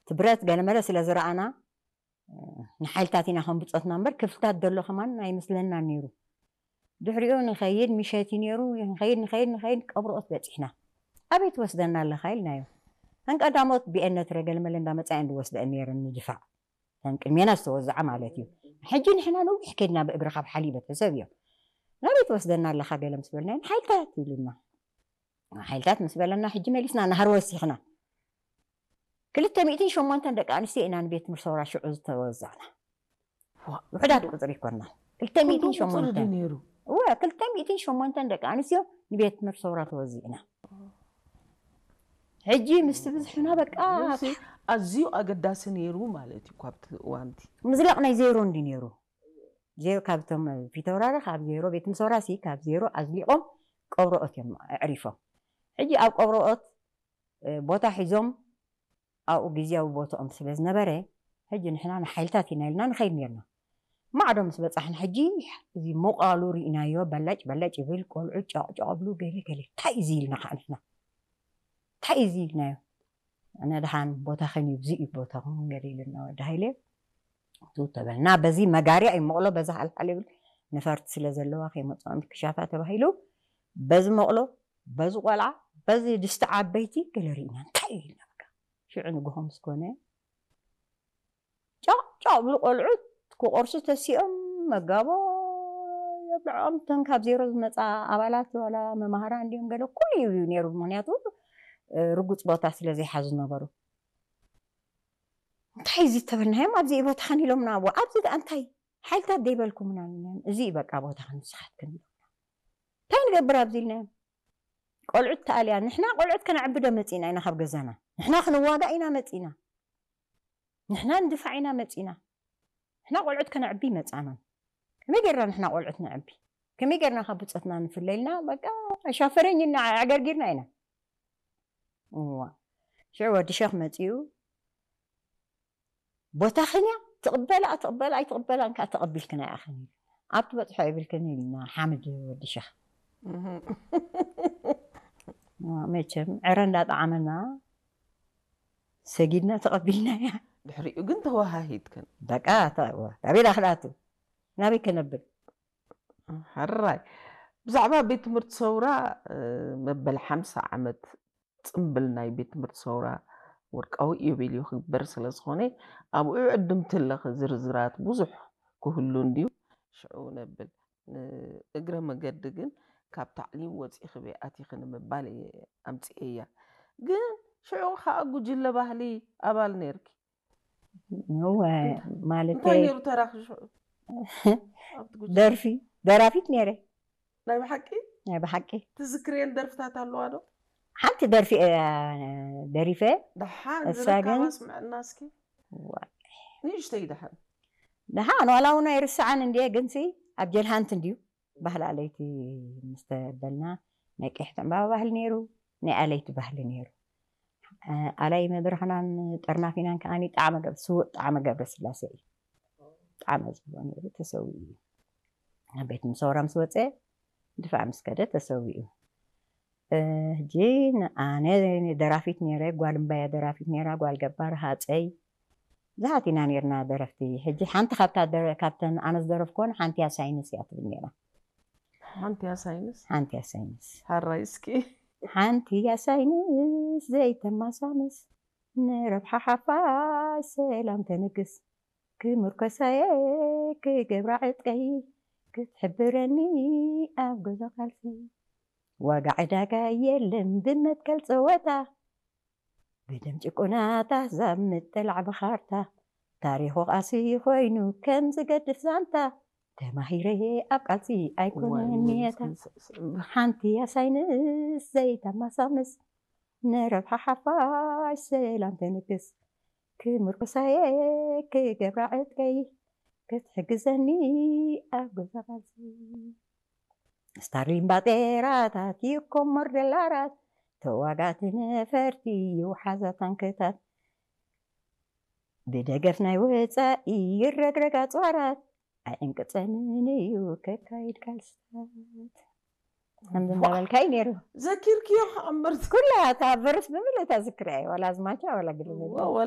እቲ ብረት ገለመለ ስለ ዝረኣና ንሓይልታት ኢና ከም ብፆትና እምበር ክፍልታት ዘሎ ከማን ኣይመስለና ነይሩ። ድሕሪኡ ንኸይድ ምሸት እዩ ነይሩ። ንኸይድ ንኸይድ ንኸይድ ቀብርኦት በፂሕና። ኣበይ ትወስደና ኣለኻ ኢልናዮ። ተን ቀዳሞት ብኤነት ረገለመለ እንዳመፃ እየን ዝወስደአን ነይረን ንድፋዕ፣ ተን ቅድሜና ዝተወዝዓ ማለት እዩ። ሕጂ ንሕና ነዊሕ ከይድና ብእግሪ ካብ ሓሊበ ተሰብ እዮም። ናበይ ትወስደና ኣለኻ ገለ ምስ በልናዮ ንሓይልታት ኢሉና። ሓይልታት ምስ በለና ሕጂ መሊስና ናህሪ ወሲኽና። ክልተ ሚእትን ሸሞንተን ደቂ ኣንስትዮ ኢና ንቤት ትምህርቲ ሰውራ ሽዑ ዝተወዛዕና። ውሕዳት ቁፅሪ ይኮና። ክልተ ሚእትን ሸሞንተን ነይሩ። እወ ክልተ ሚእትን ሸሞንተን ደቂ ኣንስትዮ ንቤት ትምህርቲ ሰውራ ተወዚዕና። ሕጂ ምስቲ ብዝሕና በቃ ኣዝዩ ኣገዳሲ ነይሩ ማለት እዩ። ካብቲ እዋንቲ ምዝላቕ ናይ ዜሮ እንዲ ነይሩ። ዜሮ ካብቶም ፊተውራሪ ካብ ዜሮ ቤት ትምህርቲ ሰውራ ሲ ካብ ዜሮ ኣዝሊቖም ቀብሮኦት እዮም ኣዕሪፎም። ሕጂ ኣብ ቀብሮኦት ቦታ ሒዞም ኣብኡ ግዜያዊ ቦታኦም ስለ ዝነበረ ሕጂ ንሕና ንሓይልታት ኢና ኢልና ንኸይድ ነርና። ማዕዶ ምስ በፃሕና ሕጂ እዚ ምቓሉ ርኢናዮ። በላጭ በላጭ ይብል፣ ቆልዑ ጫቕጫቕ ብሉ፣ ገለ ገለ። እንታይ እዚ ኢልና ከዓ ንሕና እንታይ እዚ ኢልናዮ። ኣነ ደሓን ቦታኽን እዩ፣ እዚ እዩ ቦታኹም ገለ ኢልና ወዲ ሃይለ። እቱ ተበልና በዚ መጋርያ እዩ መቕሎ በዛ ሓልሓል ይብል። ነፈርቲ ስለ ዘለዋ ከይመፅኦም ክሻፋ ተባሂሉ በዚ መቕሎ በዚ ቆልዓ በዚ ድስቲ ዓበይቲ ገለ ርኢና እንታይ እዩ ኢልና በቃ። ሽዑ ንግሆ ምስ ኮነ ጫቕ ጫቕ ብሉ ቆልዑት ክቆርሱ ተሲኦም መጋቦ የብልዖም። እተን ካብ ዜሮ ዝመፃ ኣባላት ዋላ መማህራን እንዲኦም ገለ ኩሉ እዩ ነይሩ። ምክንያቱ ርጉፅ ቦታ ስለ ዘይሓዙ ነበሩ። እንታይ እዚ ተበልናዮም ኣብዚ ቦታ ከን ኢሎምና ዋ ኣብዚ ደኣ እንታይ ሓይልታት ደይበልኩምና ኢልናዮም። እዚ እዩ በቃ ቦታ ከን ንስኻትክን ኢሎምና። እንታይ ንገብር ኣብዚ ኢልናዮም። ቆልዑት ተኣልያ ንሕና ቆልዑት ከነዕቢ ዶ መፂና ኢና ካብ ገዛና? ንሕና ክንዋጋእ ኢና መፂና። ንሕና ንድፋዕ ኢና መፂና። ንሕና ቆልዑት ከነዕቢ መፃና። ከመይ ጌርና ንሕና ቆልዑት ነዕቢ? ከመይ ጌርና ካብ ብፆትና ንፍለ ኢልና በቃ ኣሻፈረኝ እና ኣዕገርጊርና ኢና። እዋ ሽዑ ወዲ ሸኽ መፂኡ ቦታኽን እያ ትቕበላ ትቕበላ ኣይትቕበላን ከዓ ተቐቢልክን ኣይኣኽን ኢሉ ኣብ ትበፅሖ ይብልክን ኢልና ሓምድ ወዲ ሸኽ መቸም ዕረ እንዳጠዓመና ሰጊድና ተቐቢልና እያ። ድሕሪኡ ግን ተወሃሂድክን በቃ ናበይ ዳኽዳቱ ናበይ ከነብል ሕራይ ብዛዕባ ቤት ትምህርቲ ሰውራ መበል ሓምሳ ዓመት ፅምብል ናይ ቤት ትምህርቲ ሰውራ ወርቃዊ ኢዮቤልዩ ክግበር ስለ ዝኾነ ኣብኡ ዕድምቲ ኣለኺ ዝርዝራት ብዙሕ ክህሉ እንድዩ። ሽዑ ነብል ንእግረ መገዲ ግን ካብ ታዕሊም ወፂኺ በይ ኣቲኺ ንምባል እየ ኣምፅኤያ። ግን ሽዑ ከዓ ጉጅለ ባህሊ ኣባል ነርኪ። እወ ማለት እንታይ ነይሩ ተራኺ ሽዑ? ኣብቲ ጉጅለ ደርፊ ደራፊት ነይረ ናይ ብሓቂ ናይ ብሓቂ ትዝክርየን ደርፍታት ኣለዋ ዶ? ሓንቲ ደርፊ እያ ደሪፈ ደሓን እሳ ዝረካባ ግን- ስምዐና እስኪ ዋ- ንእሽተይ ደሓን ደሓን ዋላ እውን ኣይርስዓን እንድየ ግንሲ ኣብ ጀልሃንት እንድዩ ባህሊ ኣለይቲ ምስ ተበልና ናይ ቀይሕቲ ዕምባባ ባህሊ ነይሩ ናይ ኣለይቲ ባህሊ ነይሩ ኣላይ መድረኽናን ጠርናፊናን ከዓኒ ጣዕመ ገብ ስውእ ጣዕመ ገብረ ስላሴ እዩ ጣዕመ ዝብሎ ነይሩ ተሰዊኡ እዩ ኣብ ቤት ምሰውራ ምስ ወፀ ድፋዕ ምስ ከደ ተሰዊኡ ሕጂ ኣነ ደራፊት ነይረ ጓል እምባያ ደራፊት ነይራ ጓል ገባር ሃፀይ ብዙሓት ኢና ነርና ደረፍቲ ሕጂ ሓንቲ ካብታ ካብተን ኣነ ዝደረፍኮን ሓንቲ እያ ሳይንስ እያ ትብል ነራ ሓንቲ እያ ሳይንስ ሓንቲ እያ ሳይንስ ሓራይ እስኪ ሓንቲ እያ ሳይንስ ዘይተማሳምስ ንረብሓ ሓፋሽ ሰላም ተንግስ ክምርኮሳየ ክገብራ ዕጥቀይ ክትሕብረኒ ኣብ ገዛ ቃልሲ ዋጋ ዕዳጋ የለን ብመትከል ፀወታ ብደም ጭቁናት ኣህዛብ ምጥላዕ ብኻርታ ታሪኹ ቃሲ ኮይኑ ከም ዝገድፍ ዛንታ ተማሂረ ኣብ ቃልሲ ኣይኮነን ሜታ ሓንቲ ኣሳይንስ ዘይተማሳምስ ንረብሓ ሓፋሽ ሰላም ተንግስ ክምርኩሳየ ክገብራ ዕጥቀይ ክትሕግዘኒ ኣብ ገዛ ቃልሲ ስታርሊን ባጤራታት ይኮመር ደላራት ተዋጋእቲ ነፈርቲ ይውሓዛ ታንክታት ብደገፍ ናይ ወፃኢ ይረግረግ ኣፅዋራት ኣይዕንቅፀንን እዩ ከካይድ ቃልስታት ከምዚ እንዳበልካ እዩ ነይሩ ዘኪርክዮ ከኣምበር ኩላ እታ በርስ ብምልእታ ዝክርያ እዩ ዋላ ኣዝማቻ ዋላ ግልመ